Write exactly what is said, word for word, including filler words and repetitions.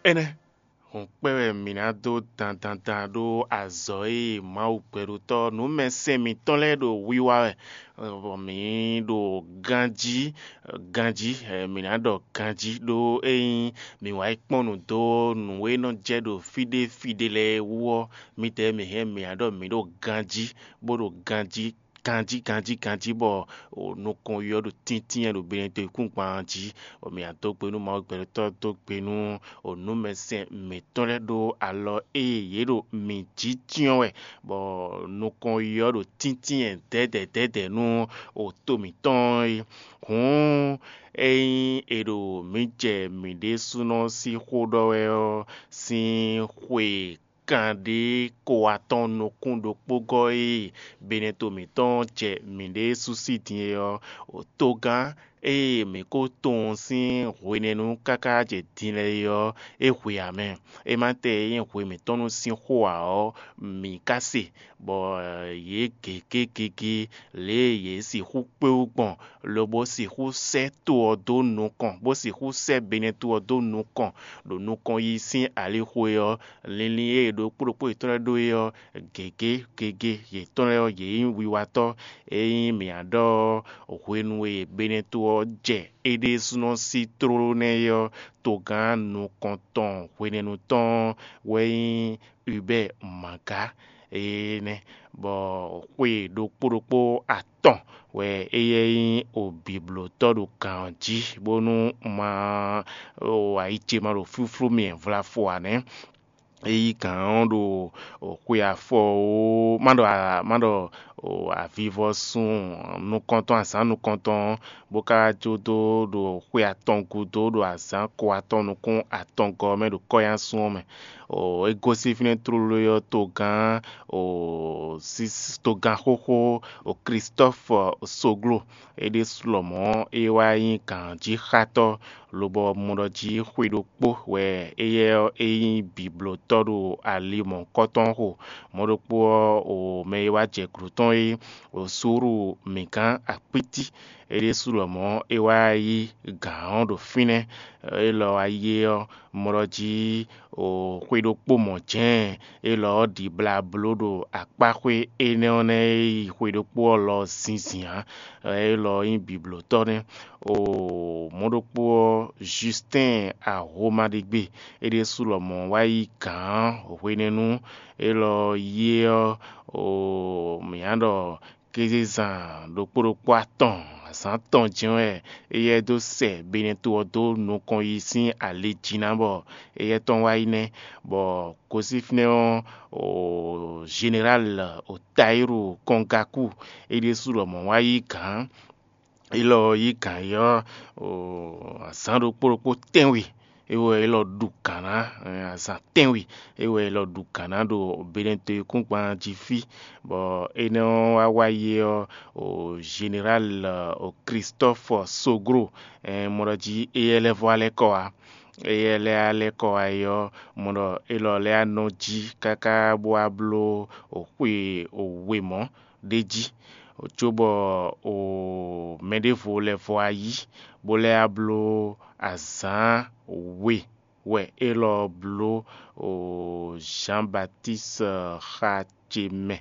Énɛ́ hǔn kpɛ́ wɛ mǐ ná dó dandandan ɖó azɔ̌ e Mawu gbɛɖotɔ́ nǔmɛsɛn mǐtɔn lɛ́ɛ ɖo wiwa wɛ, bɔ mǐ ɖo ganjí, ganjí, mǐ ná ɖɔ ganjí ɖó ényí mǐ wá yi kpɔ́n nǔ dó nǔ e nɔ jɛ ɖo fí ɖé fí ɖé lɛ́ɛ wú ɔ́, mǐdɛɛ mǐ hɛn mǐ ná ɖɔ mǐ ɖo ganjí, bó ɖo ganjí ganjí ganjí ganjí bɔ nukɔn ɔ́ ɖo tíntín wɛ ɖo Benɛto yíkúngban jí, bɔ mǐ ná dó gbe nú Mawu gbɛɖotɔ́, dó gbe nú nǔmɛsɛn mǐtɔn lɛ́ɛ ɖó alɔ e yě ɖo mǐ jí cyɔ́n wɛ, bɔ nukɔn ɔ́ ɖo tíntín wɛ dɛ̌dɛ̌ dɛ̌dɛ̌ nú to mǐtɔn é. Hǔn ényí è ɖo mǐ jɛ mǐ ɖésúnɔ sín xó ɖɔ wɛ ɔ́ sín xwe kanɖé ko atɔ́ɔ́n nukún ɖokpó gɔ́ e Benɛto mǐtɔn jɛ mǐɖée sú sí din é ɔ́, togán e mǐ ko tunwun sín hwenɛ́nu káká jɛ din lɛ́ɛ é ɔ́, é hwe ǎ mɛ. É ma tɛ e nyí hwe mǐtɔn nú sín xó ǎ ɔ́, mǐ ka se, bɔ yě gěgé gěgé lě e yě sixú kpé wú gbɔn, lobo sixú sɛ́ to ɔ́ dó nukɔn, bó sixú sɛ́ Benɛto ɔ́ dó nukɔn ɖo nukɔn yi sín alixo é ɔ́, linlin e ɖokpó ɖokpó yětɔn lɛ́ɛ ɖó é ɔ́, gěgé gěgé yětɔn lɛ́ɛ ɔ́, yě nyí wiwatɔ́. Ényí mǐ ná ɖɔ hwenu e Benɛto ɔ́ jɛ é ɖésúnɔ sí tlóló nɛ́ é ɔ́, togán nukɔntɔn hwenɛ́nu tɔn wɛ nyí Hubert Manga énɛ́, bɔ xwe ɖokpó ɖokpó atɔn wɛ éyɛ́ nyí obǐblótɔ́ ɖo gǎn ɔ́ jí, bónú ma ɖo ayi ce ma ɖo flúflú mì vlafo ǎ nɛ́. É yí gǎn ɔ́ ɖo xwe afɔ ó, má ɖɔ má ɖɔ avivɔsun nukɔntɔn, azǎn nukɔntɔn ɔ́, bó ka wá jó dó ɖo xwe atɔn gúdo ɖo azǎn ko atɔn nukún atɔngɔ́ ɔ́ mɛ ɖo kɔ́yásun ɔ́ mɛ. É gosín fínɛ́ tlóló ɔ́ togán togán xóxó Klistɔ́fu Soglo, é ɖésú lɔmɔ̌ é wá nyí gǎnjíxátɔ́, lobɔ mɔ ɖɔ jí xwe ɖokpó wɛ éyɛ́ ɔ́ é nyí bǐblótɔ́ ɖo ali mɔ̌hunkɔtɔn xo. Mɔ̌ ɖokpó ɔ́, o mɛ e wá jɛ gǔdo tɔn é, o súúru mǐgán akpítí, é ɖésú lɔmɔ̌ é wá yí gǎn ɔ́ ɖo fínɛ́. Élɔ́ wá yí é ɔ́, mɔ ɖɔ jí o xwe ɖokpó mɔ̌ jɛ́n, élɔ́ ɔ́ ɖi blá bló ɖo akpáxwé énɛ́ ɔ́ nɛ́ e yi xwe ɖokpó ɔ́ lɔ zinzin ǎ. Élɔ́ nyí bǐblótɔ́ nɛ́. O mɔ̌ ɖokpó ɔ́, Justin Ahomaɖigbe, é ɖésú lɔmɔ̌ wá yí gǎn hwenɛ́nu élɔ́ yí é ɔ́, o mǐ ná ɖɔ kézezán ɖokpó ɖokpó atɔn azǎn tɔn jɛ́n wɛ éyɛ́ dó sɛ Benɛto ɔ́ dó nukɔn yi sín ali jí ná bɔ éyɛ́ tɔn wá yi nɛ́, bɔ gosín fínɛ́ ɔ́, o Zeneráli Otayíru Kɔngaku, é ɖésú lɔmɔ̌ wá yí gǎn. Élɔ́ yí gǎn yi ɔ́, azǎn ɖokpó ɖokpó tɛ́nwe é wɛ élɔ́ ɖu gǎn ná, azǎn tɛ́nwe é wɛ élɔ́ ɖu gǎn ná ɖo Benɛto yíkúngban jí fí, bɔ énɛ́ ɔ́ wá wá yi ɔ́, Zeneráli Klistɔ́fu Soglo, mɔ ɖɔ jí éyɛ́ lɛ́ vɔ́ alɛ́ kɔ wá. Éyɛ́ lɛ́ alɛ́ kɔ wá yi ɔ́, mɔ ɖɔ élɔ́ lɛ́ nɔ jí káká bó wá bló xwe we mɔ̌ ɖ'é jí, cóbɔ mɛ ɖěvo lɛ́ vɔ wá yí, bó lɛ́ wá bló azǎn we wɛ élɔ́ bló Zǎn Batíst xa ce mɛ,